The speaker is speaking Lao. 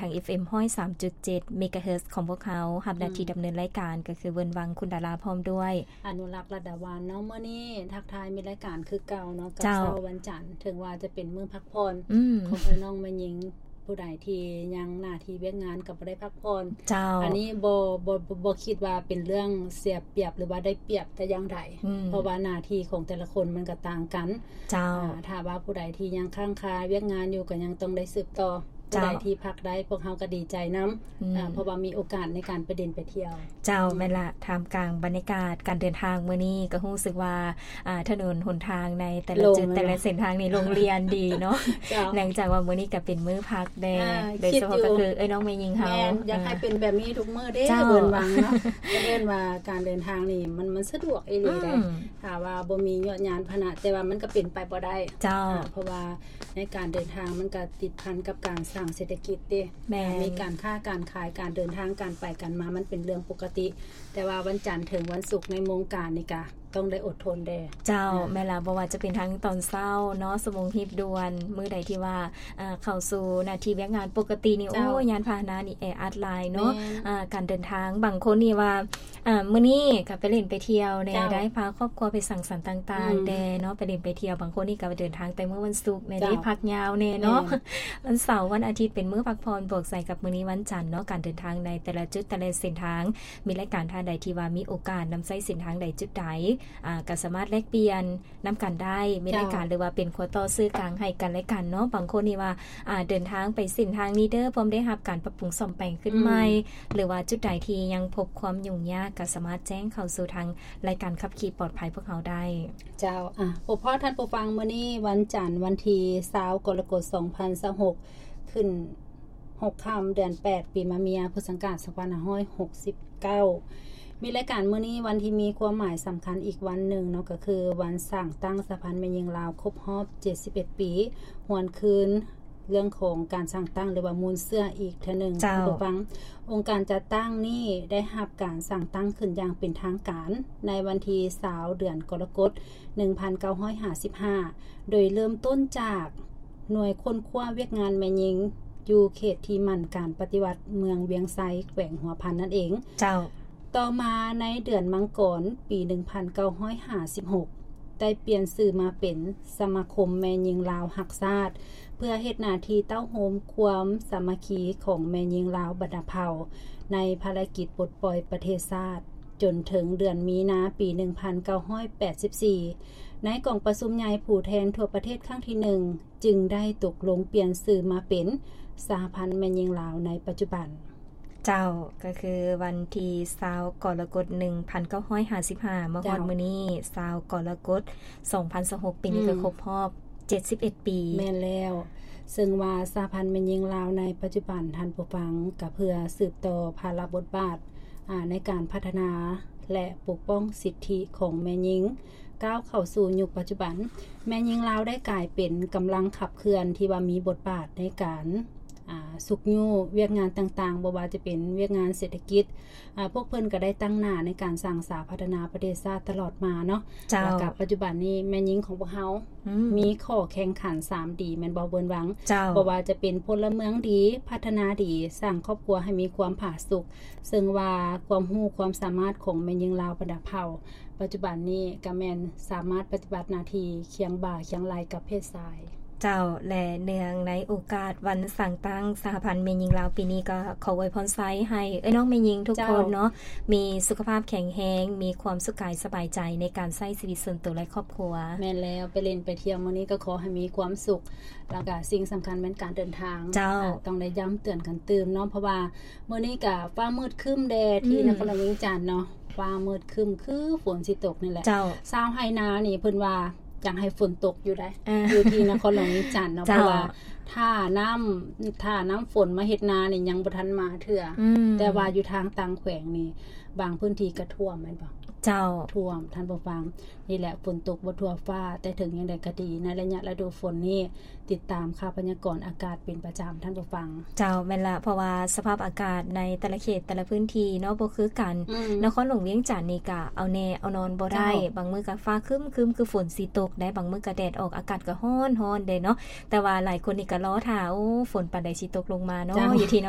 ທາງ ເອັຟເອັມ ຮ້ອຍສາມຈຸດເຈັດ ເມກາເຮີດ ຂອງພວກເຮົາ ຮັບໜ້າທີ່ ອືມ ດຳເນີນລາຍການ ກໍຄືເວີນວັງ ຄຸນດາລາ ພ້ອມດ້ວຍ ອະນຸລັກ ລັດດາວັນເນາະ. ມື້ນີ້ທັກທາຍມິດລາຍການຄືເກົ່າເນາະ ກັບ ເຈົ້າ ເຊົ້າວັນຈັນ ເຖິງວ່າຈະເປັນມື້ພັກຜ່ອນ ອືມ ຂອງເອື້ອຍນ້ອງແມ່ຍິງ ຜູ້ໃດທີ່ຍັງໜ້າທີ່ວຽກງານກໍບໍ່ໄດ້ພັກຜ່ອນ ເຈົ້າ ອັນນີ້ບໍ່ ບໍ່ ບໍ່ ບໍ່ຄິດວ່າເປັນເລື່ອງເສຍປຽບ ຫຼືວ່າໄດ້ປຽບແຕ່ຢ່າງໃດ ອືມ ເພາະວ່າໜ້າທີ່ຂອງແຕ່ລະຄົນມັນກໍຕ່າງກັນ ເຈົ້າ ອາ ຖ້າວ່າຜູ້ໃດທີ່ຍັງຄ້າງຄາວຽກງານຢູ່ ກໍຍັງຕ້ອງໄດ້ສືບຕໍ່ ເຈົ້າ ຜູ້ໃດທີ່ພັກໄດ້ ພວກເຮົາກໍດີໃຈນຳ ອືມ ອາ ເພາະວ່າມີໂອກາດໃນການໄປຫຼິ້ນໄປທ່ຽວ ເຈົ້າ ອືມ ແມ່ນລະ ທ່າມກາງບັນຍາກາດການເດີນທາງມື້ນີ້ ກໍຮູ້ສຶກວ່າ ອາ ຖະໜົນຫົນທາງໃນແຕ່ລະຈຸດ ໂລ່ງແລ້ວ ແຕ່ລະເສັ້ນທາງນີ້ໂລ່ງລ່ຽນດີເນາະ ເຈົ້າ ເນື່ອງຈາກວ່າມື້ນີ້ກໍເປັນມື້ພັກແດ່ ອາ ໂດຍສະເພາະ ຄິດຢູ່ ກໍຄືເອື້ອຍນ້ອງແມ່ຍິງເຮົາ ແມ່ນ ຢາກໃຫ້ເປັນແບບນີ້ທຸກມື້ເດ້ ເຈົ້າ ເວີນວັງເນາະ ກໍເອີ້ນວ່າການເດີນທາງນີ້ມັນ ມັນສະດວກອີ່ຫຼີເດ້ ອືມ ຖ້າວ່າບໍ່ມີຍວດຍານພາຫະນະ ແຕ່ວ່າມັນກໍເປັນໄປບໍ່ໄດ້ ເຈົ້າ ອາ ເພາະວ່າໃນການເດີນທາງມັນກໍຕິດພັນກັບການສ້າງເສດຖະກິດເດ້ ແມ່ນ ມີການຄ້າການຂາຍ ການເດີນທາງ ການໄປການມາ ມັນເປັນເລື່ອງປົກກະຕິ ແຕ່ວ່າວັນຈັນເຖິງວັນສຸກໃນໂມງການນີ້ກະ ຕ້ອງໄດ້ອົດທົນແດ່ ເຈົ້າ ອາ ແມ່ນລະ ບໍ່ວ່າຈະເປັນທັງຕອນເຊົ້າເນາະ ຊົ່ວໂມງຮີບດ່ວນ ມື້ໃດທີ່ວ່າ ອາ ເຂົ້າສູ່ໜ້າທີ່ວຽກງານປົກກະຕິນີ້ ເຈົ້າ ໂອ້ຍ ຍານພາຫະນະນີ້ແອອັດຫຼາຍເນາະ ແມ່ນ ອາ ການເດີນທາງ ບາງຄົນນີ້ວ່າ ອາ ມື້ນີ້ກໍໄປຫຼິ້ນໄປທ່ຽວແດ່ ເຈົ້າ ໄດ້ພາຄອບຄົວໄປສັງສັນຕ່າງໆ ອືມ ແດ່ເນາະ ໄປຫຼິ້ນໄປທ່ຽວ ບາງຄົນນີ້ກໍເດີນທາງແຕ່ມື້ວັນສຸກແດ່ ເຈົ້າ ໄດ້ພັກຍາວແດ່ເນາະ ແມ່ນ ວັນເສົາ ວັນອາທິດເປັນມື້ພັກຜ່ອນ ບວກໃສ່ກັບມື້ນີ້ວັນຈັນເນາະ ການເດີນທາງໃນແຕ່ລະຈຸດ ແຕ່ລະເສັ້ນທາງ ມີລາຍການທ່ານໃດທີ່ວ່າມີໂອກາດນຳໃຊ້ເສັ້ນທາງໃດຈຸດໃດ ອາ ກໍສາມາດແລກປ່ຽນນຳກັນໄດ້ ມີລາຍການ ເຈົ້າ ຫຼືວ່າເປັນຂົວຕໍ່ສື່ກາງໃຫ້ກັນແລະກັນເນາະ ບາງຄົນນີ້ວ່າ ອາ ເດີນທາງໄປເສັ້ນທາງນີ້ເດີ ພ້ອມໄດ້ຮັບການປັບປຸງສ້ອມແປງຂຶ້ນໃໝ່ ອືມ ຫຼືວ່າຈຸດໃດທີ່ຍັງພົບຄວາມຫຍຸ້ງຍາກ ກໍສາມາດແຈ້ງເຂົ້າສູ່ທາງລາຍການຂັບຂີ່ປອດໄພພວກເຮົາໄດ້ ເຈົ້າ ອາ ພົບພໍ້ທ່ານຜູ້ຟັງ ມື້ນີ້ວັນຈັນ ວັນທີຊາວ ກໍລະກົດ ສອງພັນຊາວຫົກ ຂຶ້ນ ຫົກຄ່ຳ ເດືອນແປດ ປີມະເມຍ ພຸດສັງກາດ ສອງພັນຫ້າຮ້ອຍຫົກສິບເກົ້າ ມີລາຍການມື້ນີ້ ວັນທີ່ມີຄວາມໝາຍສຳຄັນອີກວັນໜຶ່ງເນາະ ກໍຄືວັນສ້າງຕັ້ງສະຫະພັນແມ່ຍິງລາວຄົບຮອບເຈັດສິບເອັດປີ ຫວນຄືນເລື່ອງຂອງການສ້າງຕັ້ງ ຫຼືວ່າມູນເຊື້ອອີກເທື່ອໜຶ່ງ ເຈົ້າ ທ່ານຜູ້ຟັງ ອົງການຈັດຕັ້ງນີ້ໄດ້ຮັບການສ້າງຕັ້ງຂຶ້ນຢ່າງເປັນທາງການ ໃນວັນທີຊາວ ເດືອນກໍລະກົດ ໜຶ່ງພັນເກົ້າຮ້ອຍຫ້າສິບຫ້າ ໂດຍເລີ່ມຕົ້ນຈາກໜ່ວຍຄົ້ນຄວ້າວຽກງານແມ່ຍິງ ຢູ່ເຂດທີ່ໝັ້ນການປະຕິວັດເມືອງວຽງໄຊ ແຂວງຫົວພັນນັ້ນເອງ ເຈົ້າ ຕໍ່ມາໃນເດືອນມັງກອນ ປີໜຶ່ງພັນເກົ້າຮ້ອຍຫ້າສິບຫົກ ໄດ້ປ່ຽນຊື່ມາເປັນສະມາຄົມແມ່ຍິງລາວຮັກຊາດ ເພື່ອເຮັດໜ້າທີ່ເຕົ້າໂຮມຄວາມສາມັກຄີຂອງແມ່ຍິງລາວບັນດາເຜົ່າ ໃນພາລະກິດປົດປ່ອຍປະເທດຊາດ ຈົນເຖິງເດືອນມີນາ ປີໜຶ່ງພັນເກົ້າຮ້ອຍແປດສິບສີ່ ໃນກອງປະຊຸມໃຫຍ່ຜູ້ແທນທົ່ວປະເທດຄັ້ງທີໜຶ່ງ ຈຶ່ງໄດ້ຕົກລົງປ່ຽນຊື່ມາເປັນສະຫະພັນແມ່ຍິງລາວໃນປັດຈຸບັນ. ເຈົ້າ ກໍຄືວັນທີຊາວ ກໍລະກົດ ໜຶ່ງພັນເກົ້າຮ້ອຍຫ້າສິບຫ້າ ມາຮອດ ເຈົ້າ ມື້ນີ້ ຊາວ ກໍລະກົດ ສອງພັນຊາວຫົກ ປີນີ້ ອືມ ກໍຄົບຮອບເຈັດສິບເອັດປີ. ແມ່ນແລ້ວ ເຊິ່ງວ່າສະຫະພັນແມ່ຍິງລາວໃນປັດຈຸບັນ ທ່ານຜູ້ຟັງ ກໍເພື່ອສືບຕໍ່ພາລະບົດບາດ ອາ ໃນການພັດທະນາ ແລະ ປົກປ້ອງສິດທິຂອງແມ່ຍິງ ກ້າວເຂົ້າສູ່ຍຸກປັດຈຸບັນ ແມ່ຍິງລາວໄດ້ກາຍເປັນກຳລັງຂັບເຄື່ອນທີ່ວ່າມີບົດບາດໃນການ ອາ ຊຸກຍູ້ວຽກງານຕ່າງໆ ບໍ່ວ່າຈະເປັນວຽກງານເສດຖະກິດ ອາ ພວກເພິ່ນກໍໄດ້ຕັ້ງໜ້າໃນການສ້າງສາພັດທະນາປະເທດຊາດຕະຫຼອດມາເນາະ. ເຈົ້າ. ແລ້ວກໍປັດຈຸບັນນີ້ແມ່ຍິງຂອງພວກເຮົາ ອືມ ມີຂໍ້ແຂ່ງຂັນສາມດີ ແມ່ນບໍ່ ເວີນວັງ? ເຈົ້າ. ບໍ່ວ່າຈະເປັນພົນລະເມືອງດີ, ພັດທະນາດີ, ສ້າງຄອບຄົວໃຫ້ມີຄວາມຜາສຸກ, ເຊິ່ງວ່າຄວາມຮູ້ຄວາມສາມາດຂອງແມ່ຍິງລາວບັນດາເຜົ່າ ປັດຈຸບັນນີ້ກໍແມ່ນສາມາດປະຕິບັດໜ້າທີ່ຄຽງບ່າຄຽງໄຫຼ່ກັບເພດຊາຍ. ເຈົ້າ ແລະ ເນື່ອງໃນໂອກາດວັນສ້າງຕັ້ງສະຫະພັນແມ່ຍິງລາວປີນີ້ ກໍຂໍອວຍພອນໄຊໃຫ້ເອື້ອຍນ້ອງແມ່ຍິງທຸກຄົນເນາະ ເຈົ້າ ມີສຸຂະພາບແຂງແຮງ, ມີຄວາມສຸກກາຍສະບາຍໃຈໃນການໃຊ້ຊີວິດສ່ວນຕົວ ແລະ ຄອບຄົວ. ແມ່ນແລ້ວ, ໄປຫຼິ້ນໄປທ່ຽວມື້ນີ້ກໍຂໍໃຫ້ມີຄວາມສຸກ, ແລ້ວກໍສິ່ງສຳຄັນແມ່ນການເດີນທາງ. ເຈົ້າ. ອາ, ຕ້ອງໄດ້ຢ້ຳເຕືອນກັນຕື່ມເນາະ, ເພາະວ່າ ມື້ນີ້ກະຟ້າມືດຄຶ້ມແດ່ທີ່ ອືມ ນະຄອນຫຼວງວຽງຈັນເນາະ, ຟ້າມືດຄຶ້ມຄືຝົນຊິຕົກນີ້ແຫຼະ. ເຈົ້າ. ຊາວໄຮ່ນານີ້ເພິ່ນວ່າຢາກໃຫ້ຝົນຕົກຢູ່ໃດ໋ ເອີ ຢູ່ທີ່ນະຄອນຫຼວງວຽງຈັນເນາະ, ເຈົ້າ ເພາະວ່າຖ້ານ້ຳ ຖ້ານ້ຳຝົນມາເຮັດນານີ້ຍັງບໍ່ທັນມາເທື່ອ, ອືມ ແຕ່ວ່າຢູ່ທາງຕ່າງແຂວງນີ້ ບາງພື້ນທີ່ກະຖ້ວມແມ່ນບໍ່? ເຈົ້າ. ຖ້ວມ ທ່ານຜູ້ຟັງ. ນີ້ແຫຼະ ຝົນຕົກບໍ່ທົ່ວຟ້າ, ແຕ່ເຖິງຢ່າງໃດກໍດີ ໃນໄລຍະລະດູຝົນນີ້ ຕິດຕາມຂ່າວພະຍາກອນອາກາດເປັນປະຈຳ ທ່ານຜູ້ຟັງ. ເຈົ້າ, ແມ່ນລະ, ເພາະວ່າສະພາບອາກາດໃນແຕ່ລະເຂດ ແຕ່ລະພື້ນທີ່ເນາະ ບໍ່ຄືກັນ. ອືມ. ນະຄອນຫຼວງວຽງຈັນນີ້ກະເອົາແນ່ເອົານອນບໍ່ໄດ້, ເຈົ້າ. ບາງມື້ກະຟ້າຄຶ້ມໆ ຄືຝົນຊິຕົກໄດ໋, ບາງມື້ກະແດດອອກ, ອາກາດກະຮ້ອນໆເດເນາະ. ແຕ່ວ່າຫຼາຍຄົນນີ້ກະລໍຖ້າ, ໂອ້, ຝົນປານໃດຊິຕົກລົງມາເນາະ, ເຈົ້າ. ຢູ່ທີ່ນະ